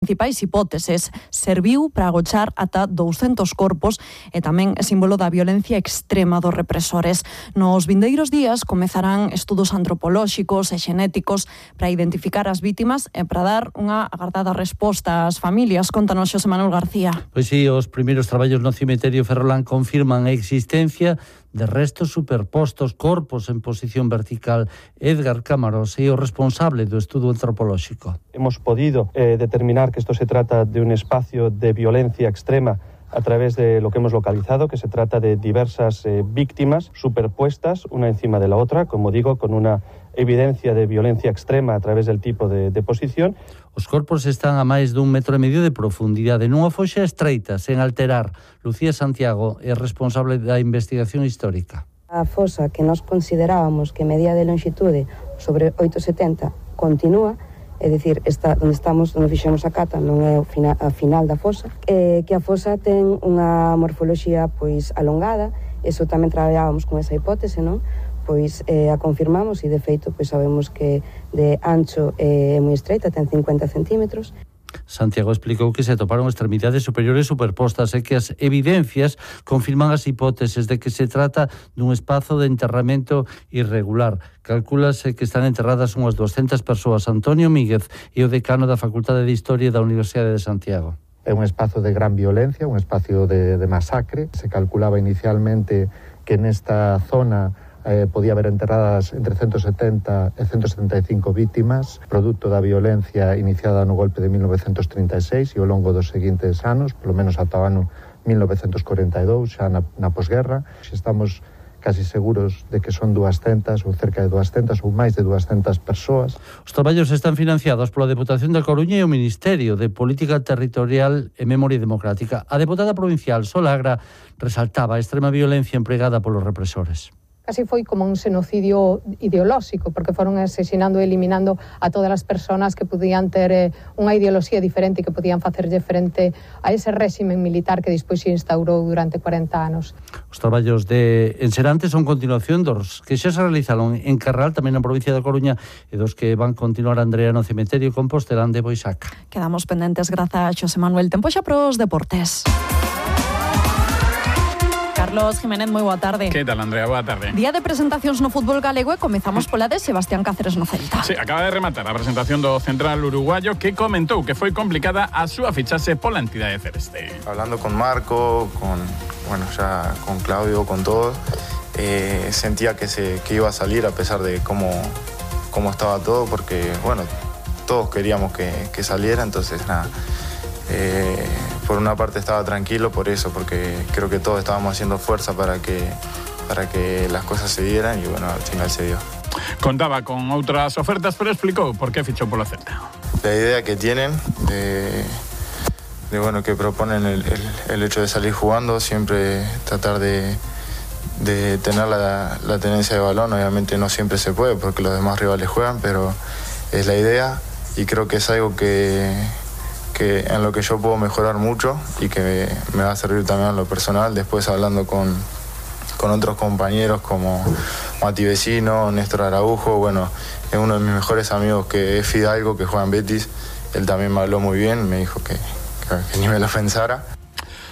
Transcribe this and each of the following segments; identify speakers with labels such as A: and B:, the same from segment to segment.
A: principais hipóteses, serviu para agochar ata 200 corpos e tamén é símbolo da violencia extrema dos represores. Nos vindeiros días comezarán estudos antropolóxicos e xenéticos para identificar as vítimas e para dar unha agardada resposta ás familias. Contanos, Xosé Manuel García.
B: Pois sí, os primeiros traballos no cemiterio Ferrolán confirman a existencia de restos superpostos, corpos en posición vertical. Edgar Cámaros é o responsable do estudo antropolóxico.
C: Hemos podido determinar que esto se trata de un espacio de violencia extrema a través de lo que hemos localizado, que se trata de diversas víctimas superpuestas una encima de la otra, como digo, con una evidencia de violencia extrema a través del tipo de posición.
B: Os corpos están a máis dun metro e medio de profundidade, nunha foxa estreita, sen alterar. Lucía Santiago é responsable da investigación histórica.
D: A fosa que nós considerábamos que medía de longitude sobre 8,70 continúa, é dicir, onde estamos, onde fixemos a cata, non é a final da fosa, que a fosa ten unha morfoloxía pois alongada, eso tamén traballábamos con esa hipótese, non? Pois a confirmamos e de feito pois sabemos que de ancho é moi estreita, ten 50 centímetros.
B: Santiago explicou que se atoparon extremidades superiores superpostas e que as evidencias confirman as hipóteses de que se trata dun espazo de enterramento irregular. Calcúlase que están enterradas unhas 200 persoas. Antonio Míguez é o decano da Facultade de Historia da Universidade de Santiago.
E: É un espazo de gran violencia, un espacio de masacre. Se calculaba inicialmente que nesta zona podía haber enterradas entre 170 e 175 vítimas, produto da violencia iniciada no golpe de 1936 e ao longo dos seguintes anos, polo menos ata o ano 1942, xa na posguerra. Estamos casi seguros de que son 200 ou cerca de 200 ou máis de 200 persoas.
B: Os traballos están financiados pola Deputación da Coruña e o Ministerio de Política Territorial e Memoria Democrática. A deputada provincial Solagra resaltaba a extrema violencia empregada polos represores.
F: Casi foi como un xenocidio ideolóxico, porque foron asesinando e eliminando a todas as persoas que podían ter unha ideoloxía diferente e que podían facerlle frente a ese réximen militar que despois se instaurou durante 40 anos.
B: Os traballos de Enserante son continuación dos que xa se realizaron en Carral, tamén na provincia da Coruña, e dos que van continuar Andrea no cemiterio Compostelán de Boixaca.
A: Quedamos pendentes, grazas a Xosé Manuel. Tempo xa pros deportes. Carlos Jiménez, moi boa tarde.
G: Que tal, Andrea? Boa tarde.
A: Día de presentacións no fútbol galego e comezamos pola de Sebastián Cáceres no Celta.
G: Sí, acaba de rematar a presentación do central uruguayo que comentou que foi complicada a súa fichaxe pola entidade celeste.
H: Hablando con Marco, con Claudio, con todos, sentía que iba a salir a pesar de cómo estaba todo, porque, bueno, todos queríamos que saliera, entonces nada. Por una parte estaba tranquilo por eso, porque creo que todos estábamos haciendo fuerza para que las cosas se dieran y bueno, al final se dio.
G: Contaba con outras ofertas, pero explicou por qué fichou polo Celta.
H: La idea que tienen de bueno, que proponen el hecho de salir jugando, siempre tratar de tener la tenencia de balón. Obviamente no siempre se puede porque los demás rivales juegan, pero es la idea y creo que es algo que en lo que yo puedo mejorar mucho y que me va a servir también en lo personal. Después hablando con otros compañeros como Mati Vecino, Néstor Araujo, bueno, es uno de mis mejores amigos que es Fidalgo, que juega en Betis. Él también me habló muy bien, me dijo que ni me lo pensara.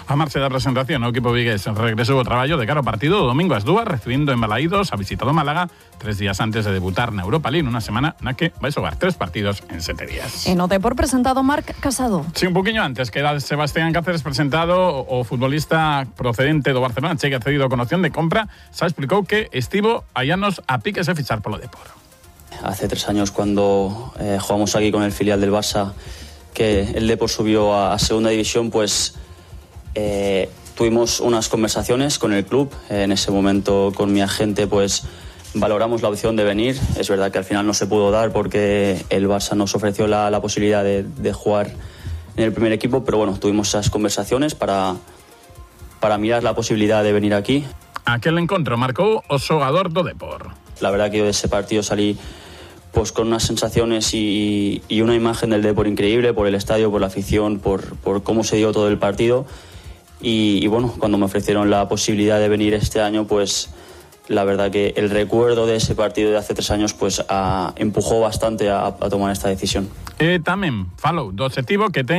G: A marcha da presentación, o equipo vigués regresou ao traballo de cara ao partido do domingo ás 2, recibindo en Balaídos a visita do Málaga 3 días antes de debutar na Europa League, unha semana na que vai xogar 3 partidos en 7 días.
A: E no Depor presentado Marc Casado.
G: Sí, un poquinho antes que era Sebastián Cáceres presentado, o futbolista procedente do Barcelona, chegue cedido con opción de compra, xa explicou que estivo hai anos a piques de fichar polo Depor.
I: Hace 3 años cuando jugamos aquí con el filial del Barça, que el Depor subió a segunda división, pues tuvimos unas conversaciones con el club. En ese momento con mi agente pues valoramos la opción de venir. Es verdad que al final no se pudo dar porque el Barça nos ofreció la posibilidad de jugar en el primer equipo, pero bueno, tuvimos esas conversaciones para mirar la posibilidad de venir aquí.
G: Aquel encontro marcou o xogador do Depor.
I: La verdad que yo de ese partido salí pues con unas sensaciones y una imagen del Depor increíble, por el estadio, por la afición, por cómo se dio todo el partido. Y bueno, cuando me ofrecieron la posibilidad de venir este año, pues la verdad que el recuerdo de ese partido de hace 3 años pues empujó bastante a tomar esta decisión.
G: Tamén falou do obxectivo que ten